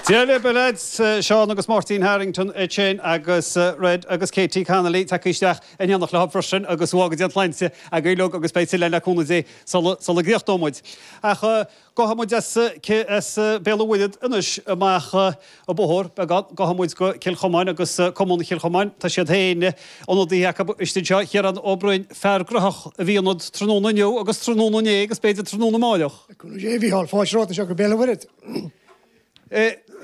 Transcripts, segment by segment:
Dia libh, a leaids, Seán agus Máirtín Harrington ansin agus Red agus Katie Connolly tagtha isteach in éineacht leo freisin agus go bhfága Dia an tsláinte agaibh uilig agus beidh tuilleadh le cúnamh Dé sula gcríochnóidh muid. Ach gabhfaidh muid as as Béal an Mhuirthead anois amach an bóthar beagán, gabhfaidh muid go Cill Chomáin agus Cumann Chill Chomáin, tá siad féin, ionadaithe acu istigh anseo, Ciarán Ó Broin, fear graitheach a bhí ionat tráthnóna inniu agus tráthnóna inné agus b'fhéidir tráthnóna amáireach. Le cúnamh Dé, a Mhícheáil, fáilte romhat anseo go Béal an Mhuirthead.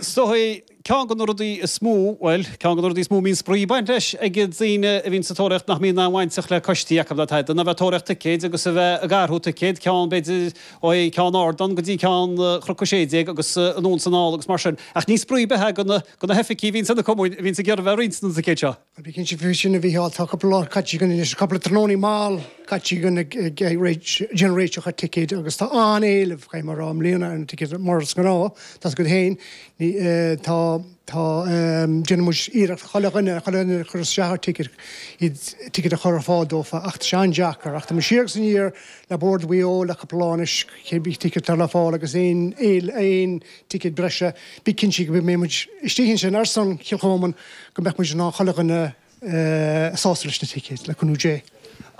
Is dóigh, ceann de na rudaí is mó, bhuel, ceann de na rudaí is mó a mbíonn spraoi ag baint leis ag daoine a bhíonn sa tóraíocht nach mbíonn aon bhainteach le coistí acu ná tada, ná bheith ag tóraíocht ticéid agus a bheith ag athrú ticéad, ceann b'fhéidir ó cheann ardán go dtí ceann Chnoc 16 agus anonn is anall agus mar sin. Ach ní spraoi ar bith é do na hoifigigh a bhíonns ar na cumainn a bhíonns ag iarraidh bheith ag roinnt na dticéad seo. Bí cinnte faoi sin, a Mhícheáil, tá cúpla lá caite againn anois, cúpla tráthnónaí mall caite againn ag déanamh réiteach ar ticéid agus tá an-éileamh, caithfidh mé a rá, i mbliana ar na ticéid mar is gnáth, tá's agat féin, tá, tá, déanann muid iarracht chuile dhuine, chuile dhuine a chuir isteach ar ticéad, iad, ticéad a chur ar fáil dófa ach tá sé an-deacair ach tá muid siar agus aniar le Bord Mhaigh Eo le cúpla lá anois, cibé ticéad atá le fáil agus aon, aon ticéad breise, bí cinnte go mbeidh muid istigh ansin ar son Chill Chomáin go mbeadh muid in ann chuile dhuine sásta leis na ticéid, le cúnamh Dé.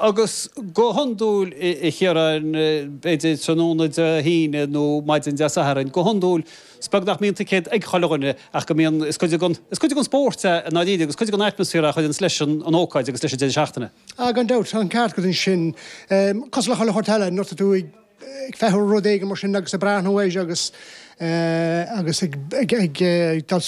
Agus go hiondúil, a Chiaráin, b'fhéidir tráthnóna Dé hAoine nó maidin Dé Sathairn, go hiondúil, is beag nach mbíonn ticéad ag chuile dhuine ach go mbíonn, is cuid den, is cuid den spórt é i ndáiríre agus cuid den atmaisféar é a chuireanns leis an ócáid agus leis an deireadh seachtaine. Ah, gan dabht, tá an ceart agat ansin. Cosúil le chuile shórt eile, nuair atá tú ag ag feitheamh rud éigin mar sin agus ag breathnú air agus agus ag ag ag dul.